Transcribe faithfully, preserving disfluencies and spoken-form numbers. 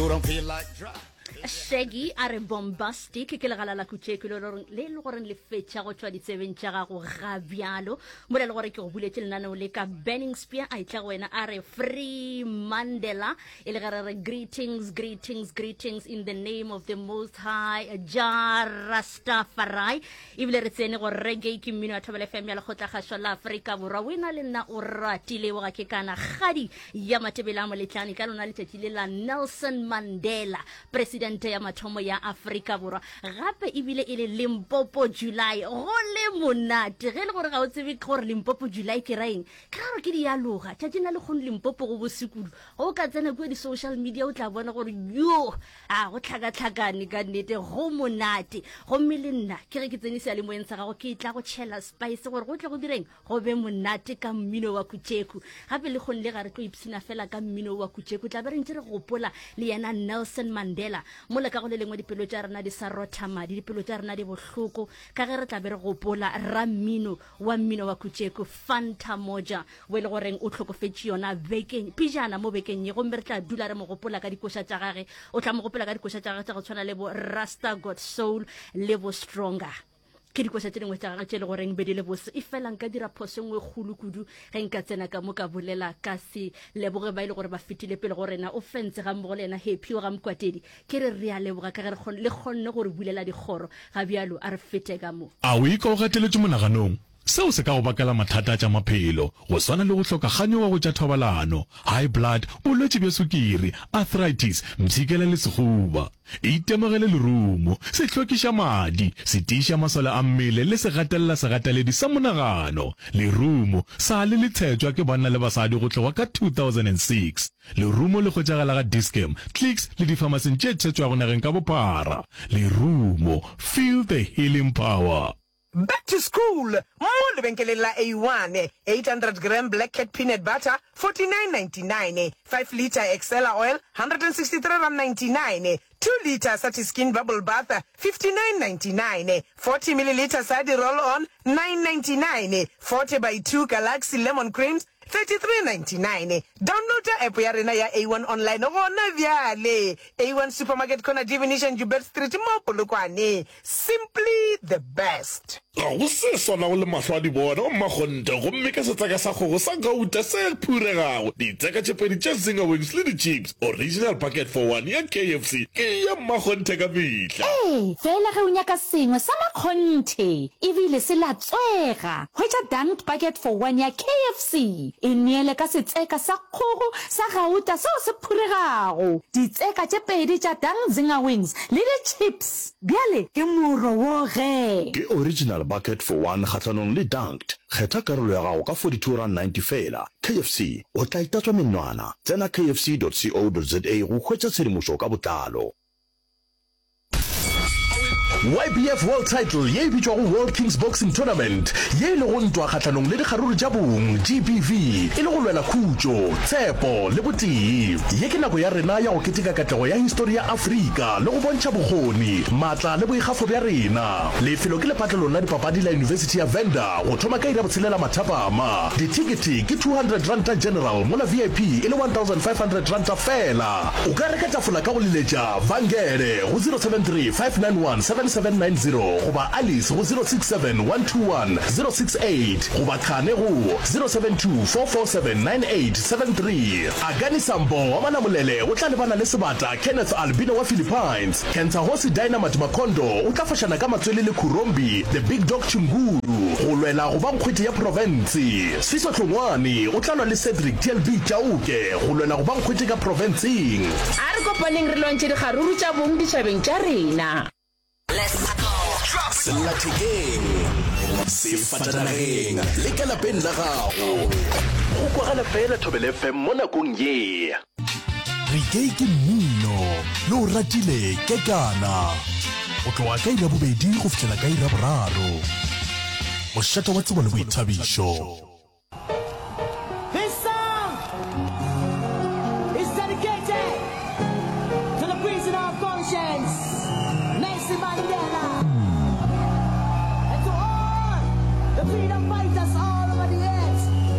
You don't feel like drop. Shaggy a re bombastic ke legala la kutšeko le le le le goreng le fetša go tšwa ditsebeng tša gago ga bjalo mola le gore ke go buletše lenaneo le ka Burning Spear a itla go wena a re free Mandela e le ge re re greetings greetings greetings in the name of the most high Jah Rastafari ebile re tsene gore reggae ke mmino wa Thobela FM ya lekgotlakgašo la Afrika Borwa o ena le nna o ratile wa ke kana kgadi ya Matebele a Moletlane ka lona letšatši le la Nelson Mandela presidente ya mathomo ya Afrika Borwa gape ebile e le Limpopo July go le monate ge e le gore ga o tsebe gore Limpopo July ke raeng ke ra gore ke dialoga tšatšing la lekgono Limpopo go bosekudu go ka tsena kua di-social media o tla bona gore yo a go tlhakatlhakane ka nnete go monate gomme le nna ke ge ke tsene seyalemoyeng sa gago ke tla go tšhela spice gore go tle go direng go be monate ka mmino wa kutšeku gape le kgone le ga re tlo ipshina fela ka mmino wa kutšeku tla be re ntse re gopola le yena Nelson Mandela mola ka go le lengwe dipelo tša rena di sa rotha madi dipelo tša rena di bohloko ka ge re tla be re gopola rammino wa mmino wa kutšeku Fanta Moja o e le goreng o hlokofetše yona bekeng pejana mo bekeng ye gomme re tla dula re mo gopola ka dikoša tša gage o tla mo gopola ka dikoša tša gage tša go tshwana le bo Rasta Got Soul le bo Stronger ke dikoša tše dingwe tša gage tše le goreng be di le bose e fela nka dira phoso e nngwe kgolo kudu ge nka tsena ka mo ka bolela ka se leboge ba e le gore ba fetile pele go rena o fentse ga mmogo le yena Happy wa ga Mokwatedi ke re re a leboga ka ge re le kgonne gore bulela dikgoro ga bjalo a re fete ka mo. A o ikwa o gateletšwe monaganong? Seo se ka go bakela mathata a tša maphelo, go swana le go hloka kganyogo go tša thobalano, high blood, bolwetši bja sukiri, arthritis, mpshikela le sehuba. Itemogele lerumo, se hlwekiša madi, se tiiša masole a mmele le se gatelela segateledi sa monagano. Lerumo sa le le tshetšwa ke banna le basadi go tloga ka two thousand and six. Lerumo le hwetšagala ga Dis-Chem, Clicks le difamasing tše tshetšwago nageng ka bophara. Lerumo, feel the healing power. Back to school mo lebenkeleng la A one, eight hundred gram Black Cat peanut butter, forty nine ninety nine, five litre Excella oil, hundred and sixty three rand ninety nine, two litre Satiskin bubble bath, fifty nine ninety nine, forty millilitre Sadi roll on, nine ninety nine, forty by two Galaxy lemon creams, thirty three ninety nine. Downloada app ya rena ya A one online gona bjale. A one Supermarket corner Divination Joubert Street mo Polokwane. Simply the best. Ga go se swanago le mahlo a di bona, o mmakgonthe, gomme ke setseka sa kgogo sa gauta se phuregago, ditseka tše pedi tša Zinger Wings le di-chips, original bucket for one ya K F C ke ya mmakgonthe ka mehla. Ee, fela ge o nyaka sengwe sa makgonthe ebile se latswega, hwetša Dunked Bucket for One ya K F C. E neele ka setseka sa kgogo sa gauta seo se phuregago, ditseka tše pedi tša Dunk Zinger Wings le di-chips. Bjale ke moro wo ge. Ke original bucket for one kgahlanong le Dunked. Kgetha karolo ya gago ka forty two rand ninety feela. K F C, o tla itatswa menwana. Tsena K F C dot co dot za go hwetša tshedimošo ka botlalo. Y B F World Title ye e bitšwago World Kings Boxing Tournament, ye e lego ntwa kgahlanong le dikgaruru tša bong, G B V, e le go lwela khutšo, tshepo le botee. Ye ke nako ya rena ya go keteka katlego ya histori ya Afrika le go bontšha bokgoni, maatla le boikgafo bja rena. Lefelo ke lepatlelong la dipapadi la Yunibesithi ya Venda go thoma ka iri ya botshelela mathapama. Dithekete ke two hundred ranta general mola V I P e le one thousand five hundred ranta fela. O ka reka tafola ka go leletša Vangele go zero seven three five nine one seven seven nine zero goba Alice go zero six seven one two one zero six eight goba Khane go zero seven two four four seven nine eight seven three. Akani Sambo wa Malamulele o tla lebana le Sebata Kenneth Albino wa Philippines. Cancer-Hosi Dynamite Makondo o tla fošana ka matswele le Khurombi The Big Dog Chinguru go lwela go ba nkgwete ya profense. Sfiso Hlongwane o tla lwa le Cedric T L B Chauke go lwela go ba nkgwete ka profenseng. A re kopaneng re lwantšhe dikgaruru tša bong ditšhabeng tša rena. Sellathekeng, sefatanageng le ka lapeng la gago. Go kwagala fela Thobela F M mo nakong ye. Reggae ke mmino, le o ratile kekana. Go tloga ka iri ya bobedi go fihlela ka iri ya boraro. Mošate wa tsebo le boithabišo.